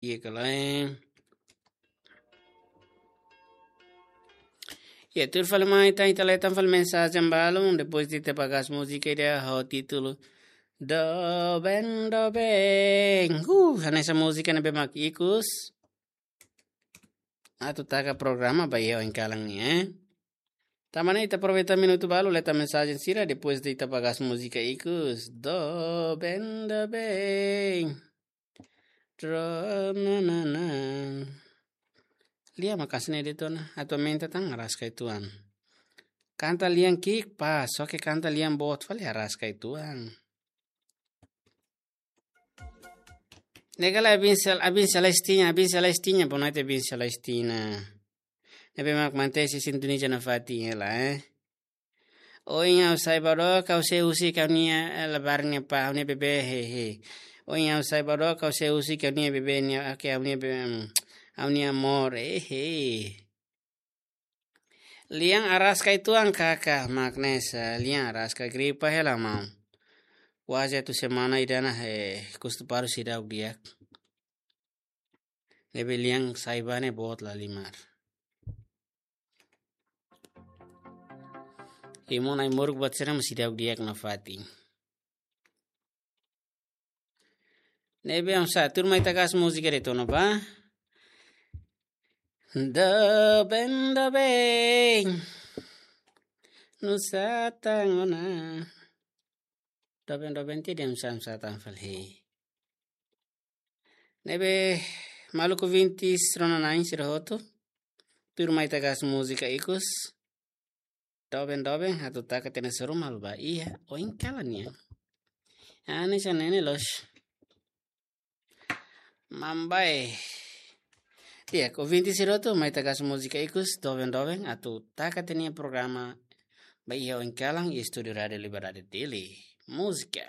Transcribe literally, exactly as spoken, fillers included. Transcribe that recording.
Iha kala, eh. Ya, tuir fali mai ita, ita leta fali mensajen balun, depois de ita bagas múzika ida ho títulu Doben, Doben. Uh, hanesan múzika ne'ebé mak ikus atu taka programa ba iha oin kalan ne'e, eh. Tanba ne'e ita aproveita minutu balu leta mensajen sira, depois de ita bagas múzika ikus. Doben, Doben. Tro, na, na, na. Lia makasne de tona, atu aumenta tan haraska uitoan. Kanta lian ki'ik pas, só ke kanta lian boot fali haraska uitoan. Ne'e kala Abin Sel-, Abin Celestina, Abin Celestina, boa noite, Abin Celestina. Ne'ebé mak mantesi sintoniza nafatin hela, eh. Ohin ha'u sai ba dook, ha'u sei husik ha'u-nia, eh, labarik nia pá, ha'u-nia bebé, he, he. Ohin ha'u sai ba dook, ha'u sei husik ha'u-nia bebé nia, oke, ha'u-nia bebé, mm, ha'u-nia amor, eh, he. Lian haraska uitoan kaka, mak ne'e sá, lian haraska gripa hela maun. Kuaze atu semana ida-ne'e, eh, kustu paru seidauk di'ak. Ne'ebé lian sai ba ne'e boot lahalimar. Imo nai moruk buat sira mós seidauk di'ak nafatin. Ne'ebé hamsa, tuur mai ita gas múzika de tona ba. Doben, doben. Nusá tan ona. Doben, doben, ti dem sam sa tan fali. Ne'ebé maluk ouvintes rona-na'in sira hotu. Tuur mai ita gas múzika ikus. Doben, doben, atu taka tiha ona suru malu ba iha oin kalan nian. Ani sa nene los. Mambai. Di'ak, ouvintes sira hotu, mai ita gas múzika ikus, doben, doben, atu taka tiha ona programa ba iha oin kalan iha estúdiu Rádiu Liberdade Dili. Múzika.